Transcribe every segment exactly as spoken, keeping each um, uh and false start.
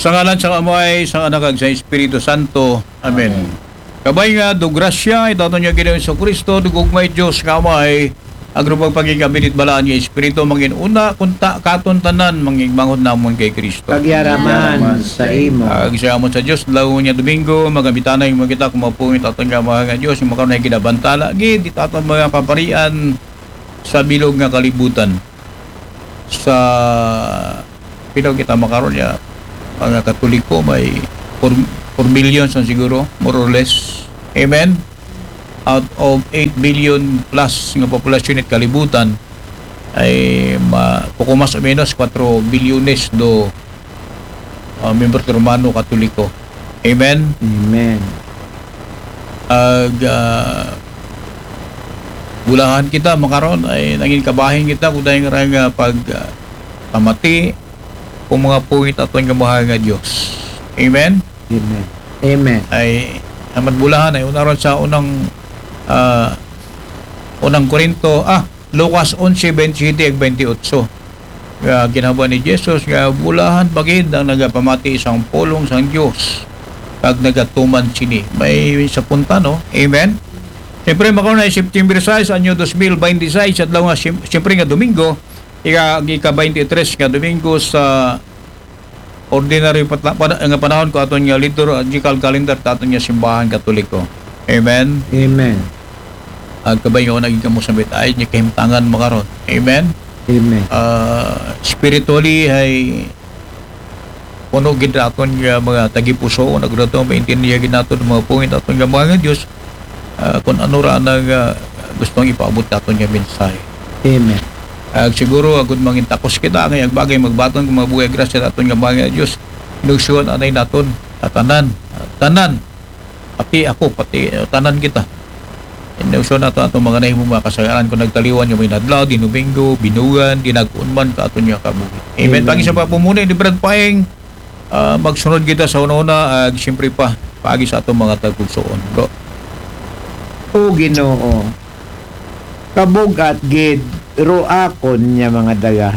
Sa ngalan sang Amay, sang Anak, kag sa Espiritu Santo. Amen. Amen. Kabay nga, do grasya, it aton nga Ginoong Jesu-Cristo, do gugmay Dios nga Amay, agro pagpakigkabinit balaan nga Espiritu, mangin una, kunta katon tanan, mangigmanghod namon kay Cristo. Pagyaraman sa imo. Ag sa amon sa Dios, law nga Domingo, magamitanay mo kita, kumapungit aton nga Amay nga Dios, nga makaroon na ginabantala, gid, it aton mga kaparian sa bilog nga kalibutan. Sa pila kita makaron niya, mga Katoliko may four, four billion sang siguro, more or less. Amen? Out of eight billion plus nga populasyon it kalibutan, ay ma-, poco mas o menos four bilyones do, ah, miyembro ti Romano Katoliko. Amen? Amen. Ag, ah, bulahan kita makaron ay nangin kabahin kita kung dahil nga pag, ah, pamati o mga pungit aton nga mahal nga Dios. Amen? Amen. Amen. Ay, ang madbulahan ay unaron sa unang, ah, unang Korinto, ah, Lucas onse, veintisiete ag veintiocho. Nga ginhabuan ni Jesus nga bulahan pa gid ang nagapamati sang pulong sang Dios kag nagatuman sini. May sa punta, no? Amen? Siyempre, makauna ay September sais, anyo dos mil bente sais, adlaw nga siyem-, siyempre nga Domingo, ika-, ang ika-twenty-three nga Domingo sa ordinary patla-, pana-, nga panahon ko aton nga liturgical calendar ta aton nga simbahan Katoliko. Amen? Amen. Ag kabay nga naging kamo sa mit-, ay, nga kahimtangan makaron. Amen? Amen. Ah, spiritually, ay puno gid aton nga mga tagipusoon, ag dato maintindihan gid naton ang mga pungit aton nga mga Dios, ah, kung ano ra na nga gustong ipaabot naton nga mensahe. Amen. Ag siguro, agud mangin takos kita, nga ang bagay magbaton kung mabuhay grasya naton nga mga Dios, inugsyon anay naton, tatanan, tanan, pati ako, pati, eh, tanan kita. Inugsyon nato aton mga nahimo, mga kasayaan, kung nagtaliwan nga may nadlaw, di Domingo, binugan, di nag-unman ka aton nga kabuhi. Amen. Amen. Pag isa pa po muna, di Brad Paeng, ah, magsunod kita sa una-una, ag siyempre pa, paagi sa atong mga tagpugsoon, bro. O Ginoo, kabug-at gid ro akon nga mga daga,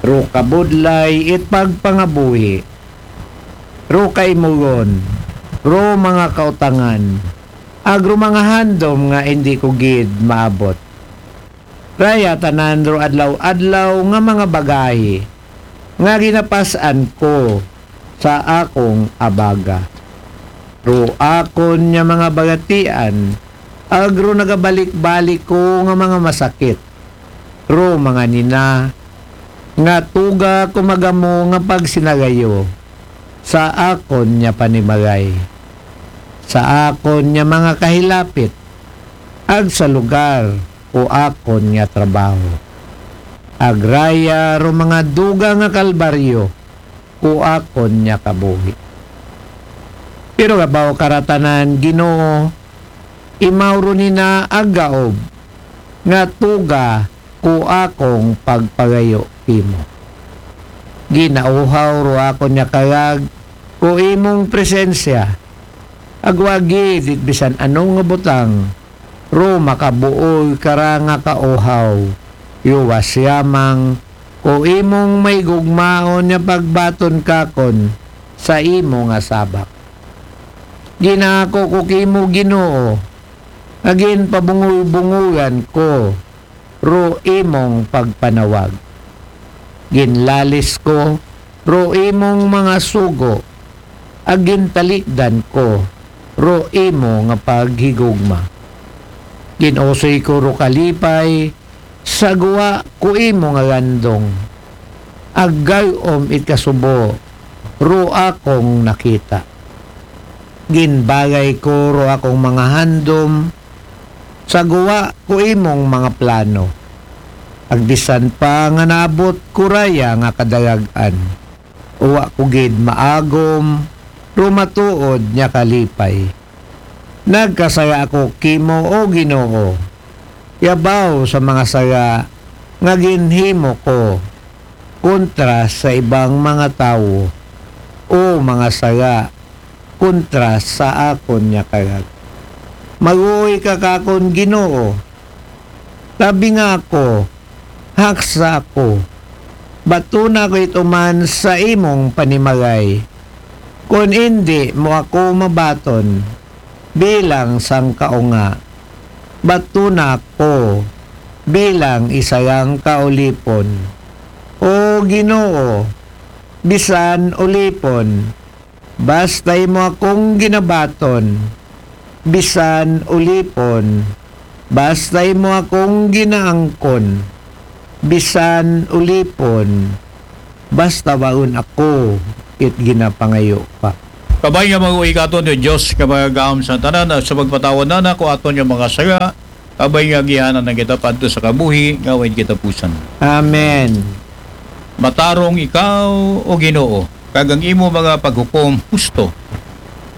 ro kabudlay it pagpangabuhi, ro kaimugon, ro mga kautangan, ag ro mga handom nga indi ko gid maabot. Raya tanan ro adlaw-adlaw nga mga bagahi nga ginapas-an ko sa akong abaga. Ro akon nga mga bagatian, ag ro nagabalik-balik ko nga mga masakit. Ro mga nina, nga tuga ko magamo nga pagsinagayo sa akon nga panimagay, sa akon nga mga kahilapit, ag sa lugar o akon nga trabaho. Agraya ro mga duga nga kalbaryo o akon nga kabuhi. Pero kabaw karatanan, Ginoo, imaw ro nina agaob nga tuga ko akong pagpagayo kimo. Ginauhaw ro akon nga kagag ko imong presensya, agwagi dit bisan ano nga butang, ro makabuol ka ra nga kauhaw, yuwas yamang ko imong may gugmaon nga pagbaton kakon sa imo nga sabak. Ginako ko kimo, Ginoo, nga ginpabungol-bungolan ko ro imong pagpanawag. Ginlalis ko ro imong mga sugo, ag gintalikdan ko ro imo nga paghigugma. Ginusoy ko ro kalipay sa gwa ko imo nga gandong, ag gay-om it kasubo ro akong nakita. Ginbagay ko ro akong mga handom, sa gwa ko imong mga plano. Ag bisan pa nga naabot ko raya nga kadagag-an, wa ko gid maagom, ro matuod nga kalipay. Nagkasaya ako kimo, O Ginoo, yabaw sa mga sala nga ginhimo ko kontra sa ibang mga tawo, o mga sala kontra sa akon nga kagag. Maluoy ka kakon, Ginoo. Tabi nga ako, haksa ako, batuna ko ito man sa imong panimagay. Kon indi mo ako mabaton bilang sang kaunga, batuna ko bilang isa yang kaulipon. O Ginoo, bisan ulipon, basta imo akong ginabaton, bisan ulipon, basta imo akong ginaangkon, bisan ulipon, basta waon ako it ginapangayo pa. Kabay nga mag-uwi ka aton, O Dios, nga magagahom sa tanan, sa pagpatawad na nako aton nga mga sala, kabay nga agianan na kita padto sa kabuhi nga way katapusan. Amen. Matarong ikaw, O Ginoo, kag ang imo mga paghukom husto.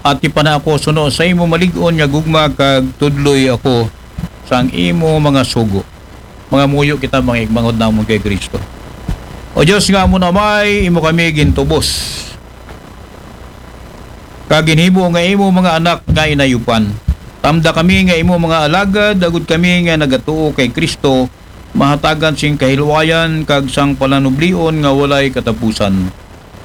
Atipana ako suno sa imo malig-on nga gugma, kag tudloy ako sang imo mga sugo. Mangamuyo kita, mga igmangod namon kay Cristo. O Dios nga amon Amay, imo kami gintubos, kag ginhimo nga imo mga anak nga inayupan. Tamda kami nga imo mga alagad, agod kami nga nagatuo kay Cristo mahatagan sing kahilwayan kag sang palanublion nga walay katapusan.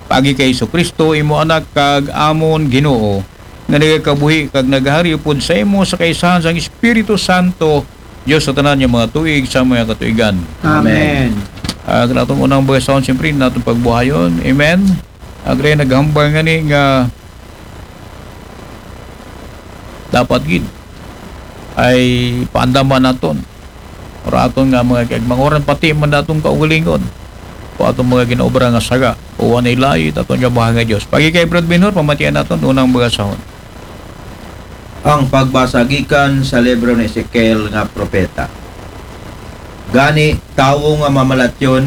Paagi kay Jesu-Cristo, imo Anak kag amon Ginoo, nga nagakabuhi kag nagahari upod sa imo sa kaisahan sang Espiritu Santo, Dios sa tanan nga mga tuig sa mga katuigan. Amen. Amen. Ah, kanaton unang bagasahon, siyempre, naton pagbuhayon. Amen. Agre naghambal nga ni nga dapat gid ay paandaman naton. Ora aton nga mga kag manguran pati man naton kaugalingon. O aton mga ginaobra nga saga, o anay layo aton nga buhay nga Dios. Pagi kay Brad Minor, pamatian naton unang bagasahon. Ang pagbasa gikan sa libro ni Ezekiel nga propeta. Gani, tawo nga mamalatyon,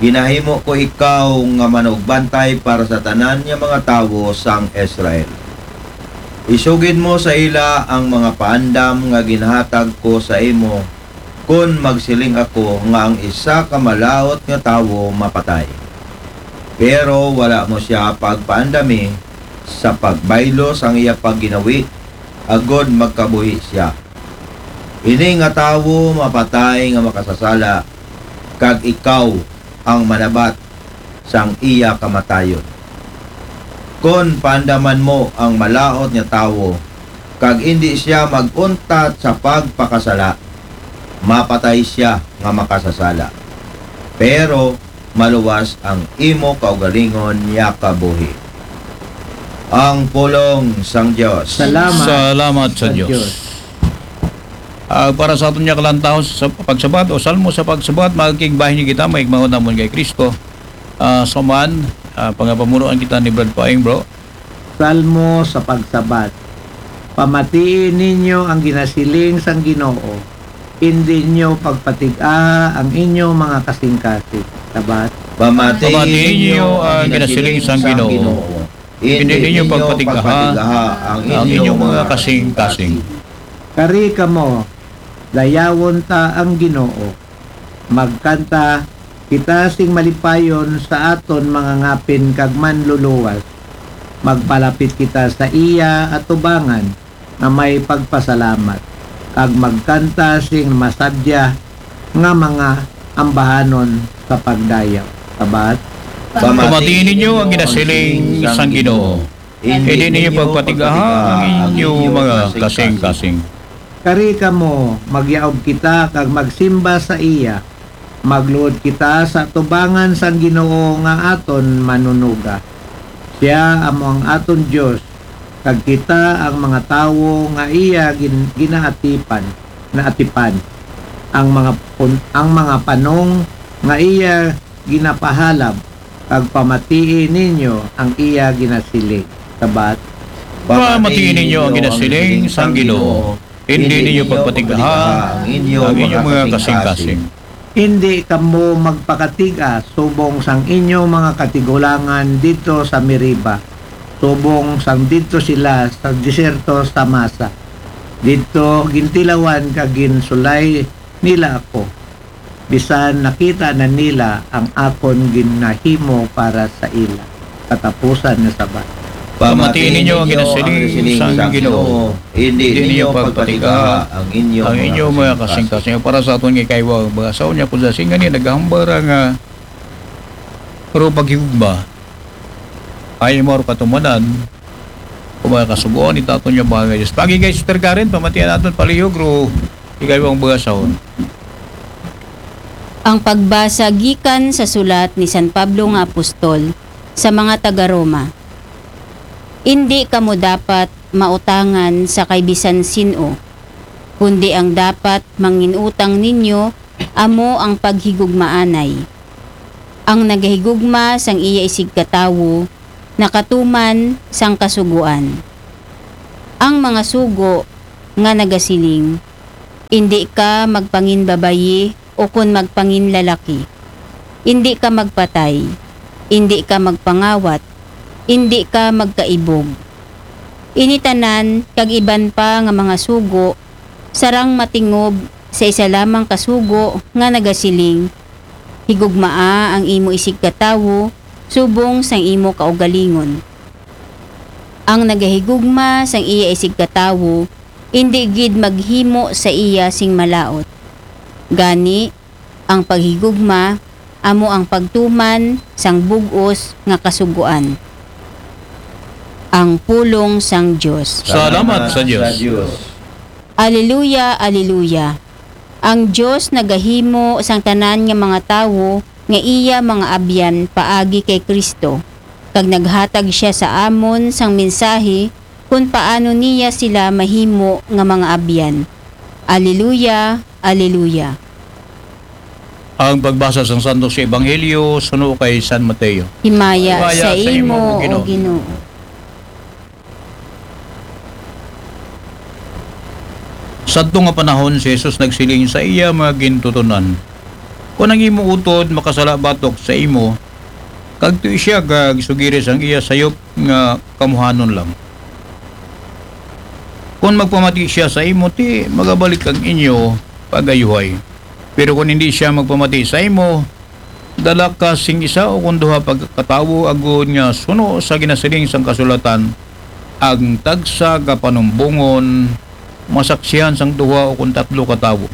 ginahimo ko ikaw nga manugbantay para sa tanan nga mga tawo sang Israel. Isugid mo sa ila ang mga paandam nga ginhatag ko sa imo, kon magsiling ako nga ang isa ka malaut nga tawo mapatay, pero wala mo sia pagpaandami sa pagbaylo sang iya pagginawi, agod magkabuhi sia. Ini nga tawo mapatay nga makasasala, kag ikaw ang manabat sang iya kamatayon. Kon paandaman mo ang malaut nga tawo, kag indi sia mag-untat sa pagpakasala, mapatay sia nga makasasala. Pero maluwas ang imo kaugalingon nga kabuhi. Ang pulong sang Dios. Salamat Salamat sa sa Dios. Dios. Ah, para sa aton nga kalantahon sa pagsabat o salmo sa pagsabat, magkigbahin kita, mga igmaon namon kay Cristo. Ah, sa man, ah, pangapamunuan kita ni Brad Paing, bro. Salmo sa pagsabat. Pamatii ninyo ang ginasiling sang Ginoo, indi ninyo pagpatig-a ang inyo mga kasingkasing. Sabat. Pamatii Pamatii ninyo ninyo ang ang ginasiling ginasiling sang sang Ginoo. Ginoo. Indi Indi ninyo ninyo pagpatig-aha pagpatig-aha ang ang inyo inyong mga mga kasingkasing. Kari kamo, dayawon ta ang Ginoo. Magkanta kita sing malipayon sa aton mga ngapin kag manluluwas. Magpalapit kita sa iya atubangan nga may pagpasalamat, kag magkanta sing masadya nga mga ambahanon sa pagdayaw. Sabat. Pamatii ninyo ang ginasiling sang Ginoo. Indi ninyo pagpatig-aha ang inyo mga kasing-kasing. Kari kamo, magyaob kita kag magsimba sa iya. Magluhod kita sa atubangan sang Ginoo nga aton Manunuga. Sia amo ang aton Dios, kag kita ang mga tawo nga iya gin-, ginaatipan, naatipan. Ang mga pun-, ang mga panong nga iya ginapahalab, kag pamatii ninyo ang iya ginasiling. Sabat. Pamatii ninyo ang ginasiling sang Ginoo. Indi ninyo pagpatig-aha ang inyong mga kasing-kasing. Indi kamo magpakatig-a subong sang inyo mga katigulangan didto sa Meriba, subong sang didto sila sa desierto sa Masa. Didto gintilawan kag ginsulay nila ako, bisan nakita na nila ang akon ginahimo para sa ila. Katapusan nga sabat. Pamatii ninyo ang ginasiling sang Ginoo. Indi ninyo pagpatig-aha ang inyong mga kasing-kasing. Para sa aton nga ikaiwa, mga saon niya, kung sa singa ni naghambal ra nga Pero paghigugma, ay imo ro katumanan, kung mga kasugoan, itaton niya mga Diyos. Pagi kay Sister Karen, pamatian naton palihog, ro, ikaw ang mga sahon. Ang pagbasa gikan sa sulat ni San Pablo nga apostol sa mga taga-Roma. Indi kamo dapat mautangan sa kay bisan sin-o, kundi ang dapat manginutang ninyo amo ang paghigugmaanay. Ang nagahigugma sang iya isigkatawo nakatuman sang kasugoan. Ang mga sugo nga nagasiling, "Indi ka magpanginbabayi ukon magpanginlalaki. Indi ka magpatay. Indi ka magpangawat. Indi ka magkaibog." Ini tanan kag iban pa nga mga sugo sarang matingob sa isa lamang ka sugo nga nagasiling, "Higugmaa ang imo isigkatawo subong sang imo kaugalingon." Ang nagahigugma sang iya isigkatawo indi gid maghimo sa iya sing malaut. Gani, ang paghigugma amo ang pagtuman sang bug-os nga kasugoan. Ang pulong sang Dios. Salamat sa Dios. Aleluya, aleluya. Ang Dios nagahimo sang tanan nga mga tawo nga iya mga abyan paagi kay Cristo, kag naghatag sia sa amon sang mensahi kon paano niya sila mahimo nga mga abyan. Aleluya, aleluya. Ang pagbasa sang Santos nga Ebanghelyo suno kay San Mateo. Himaya sa imo, O Ginoo. Sadto nga panahon, si Jesus nagsiling sa iya mga gintuton-an, "Kon ang imo utod makasala batok sa imo, kadtoi sia kag sugiri sang iya sayop nga kamuhanon lang. Kon magpamati sia sa imo, ti magabalik ang inyo pagayuhay. Pero kon indi sia magpamati sa imo, dala ka sing isa ukon duha pa ka tawo, agod nga suno sa ginasiling sang kasulatan, ang tagsa ka panumbongon masaksihan sang duha ukon tatlo ka tawo.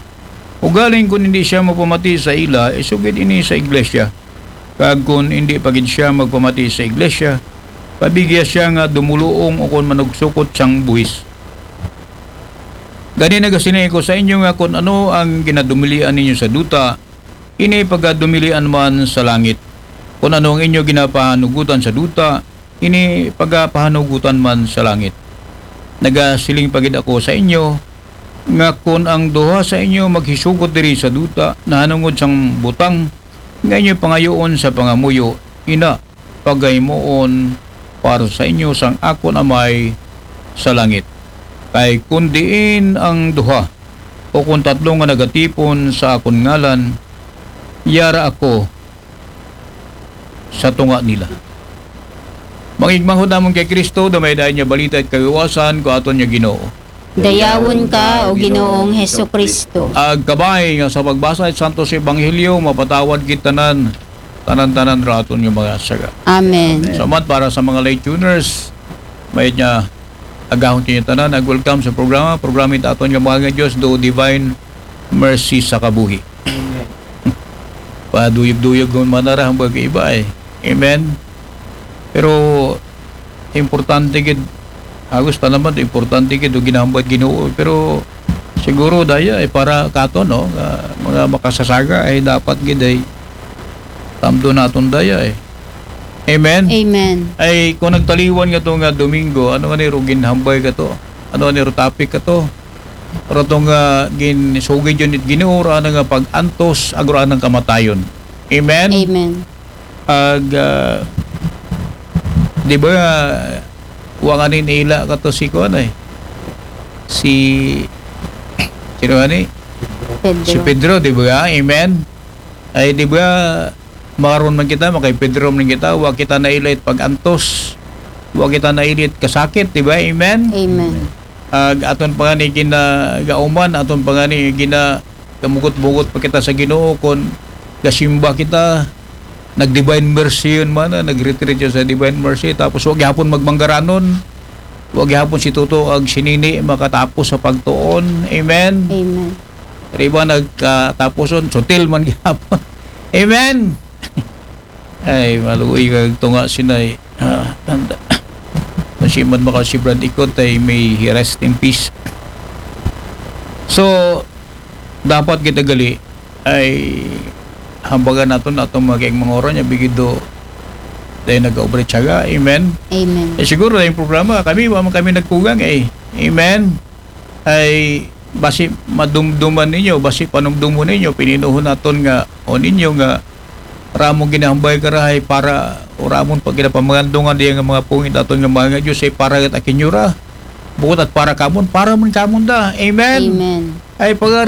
Ugaling kon indi sia magpamati sa ila, isugid ini sa iglesia. Kag kon indi pa gid sia magpamati sa iglesia, pabigya sia nga dumuluong ukon manugsokot sang buhis. Gani nagasiling ako sa inyo nga kon ano ang ginadumilian ninyo sa duta, ini pagadumilian man sa langit. Kon ano ang inyo ginapahanugutan sa duta, ini pagapahanugutan man sa langit. Nagasiling pa gid ako sa inyo nga kon ang duha sa inyo maghisugot diri sa duta nahanungod sang butang nga inyo pangayoon sa pangamuyo, ina pagahimuon para sa inyo sang akon Amay sa langit. Kay kon diin ang duha o kon tatlo nga nagatipon sa akon ngalan, yara ako sa tunga nila." Manghigmanghod namon kay Cristo, damay dayon nga balita at kagawasan ko aton nga Ginoo. Dayawon ka, O Ginoong Jesu-Cristo. Ag kabay nga sa pagbasa sa Santos Ebanghelyo, mapatawad kita tanan, tanan-tanan ra aton nga mga saga. Amen. Salamat para sa mga late tuners. May nga agahon kini tanan, nag-welcome sa programa. Programa ito aton nga mga Diyos, do Divine Mercy sa Kabuhi. Paduyog-duyog man nara ang iba eh. Amen. Pero importante gid, agos ta naman, importante gid ang ginahambal Ginoo. Pero siguro daya eh, para kato, no, nga mga makasasaga ay dapat gid ay tamdo naton daya eh. Amen? Amen. Ay, kung nagtaliwan nga to nga Domingo, ano nga ni ro ginhambal ka to? Ano nga ni ro topic ka to? Pero to nga ginsugid yun it Ginoo, ra na nga pag-antos, agro anang kamatayon. Amen? Amen. Ag, ah, di ba, wa nga ni naila ka to si kuan eh. Si, sino nga ni? Pedro. Si Pedro, di ba? Amen? Ay, di ba, maron man kita, makay Pedro man kita, wa kita nailit pag-antos, wa kita nailit kasakit, di ba? Amen? Amen. Ag aton pa nga ni ginagauman, aton pa nga ni gina-, gamugot-bugot pa kita sa Ginoo, kon gasimba kita, nag-Divine Mercy yun man, ah, nag-retreat yun sa Divine Mercy, tapos wa gihapon magmanggaranon, wa gihapon si Toto ag si Nini makatapos sa pagtuon. Amen? Amen. Pero iba nagkatapuson, sutil man gihapon. Amen? Ay, maluoy kag tunga sinay. Ah, tanda. Kung si man maka si Brad Ikot ay may rest in peace. So, dapat kita gali ay hambagan naton atong mga kaigmanghoran nga bigido dahil nag-obra tiyaga. Amen. Amen. Eh, siguro yung programa, kami, wa man kami nagkugang eh. Amen. Ay basi madumduman ninyo, basi panumdumon ninyo, pininuhon naton nga, o ninyo nga, ramong ginahambay karahay para, o ramon pag ginapamangandungan diya nga mga pungit naton nga mga Diyos ay para kat akin yura. Bukod at para kamon, para man kamon da. Amen. Amen. Ay pagari